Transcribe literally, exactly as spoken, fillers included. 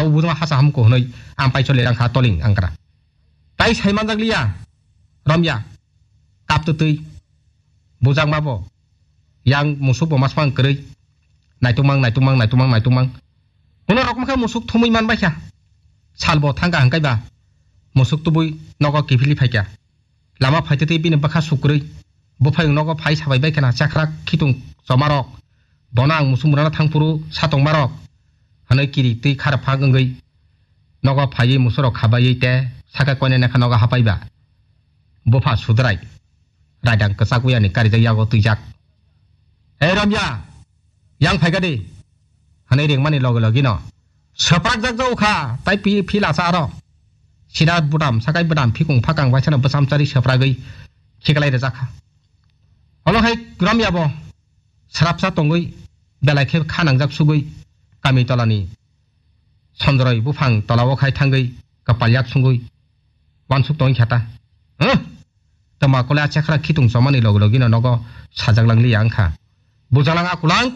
bujma hasa hamkuk hwnwi ang pai choli rang kha toling angkra. Tai sai manjak liya, romya, kap twtwi, bujak ma bo, yang musuk bo masmang kwrwi, naitukmang, naitukmang, naitukmang, naitukmang. Bono rok kha musuk thumwi man bai kha. Sal bo thang kha hwnkhe ba, musuk tubui nogo kiphilwi phai kha. Lama phaitwi twi bini bwkha sukrwi. Buphayung nogo phai sabai bai khna chakrak khitung chomarok. Bono ang musuk murano thangphuru satongmarok. Hwnwi kiri twi kharap phak wngwi nogo phaiwi musurok khabaiwi te sakha koinai nakha nogo hapaiba. Bupha sudrai. Raidang kwchak uyani karijak yago twijak. Hei romya! Yang phaikha di, hwnwi ringmani loge logino swprakjak jago kha, tai pi-, phil asa aro. Sida budam, sakai budam, phikung phakang waisano bwsamchari swpragwi khiklai rwjak kha. Olo hai romyabo srapsa tongwi belai khe kha nangjak sugwi kami tolani Sondroi buphang tolao khai thangwi kwpal yak sungwi wansuk tongwi kha ta. Huh? Tama kole a chakra khitung chomani loge logino nogo sajak lang liya wngkha. Bujalang akulang.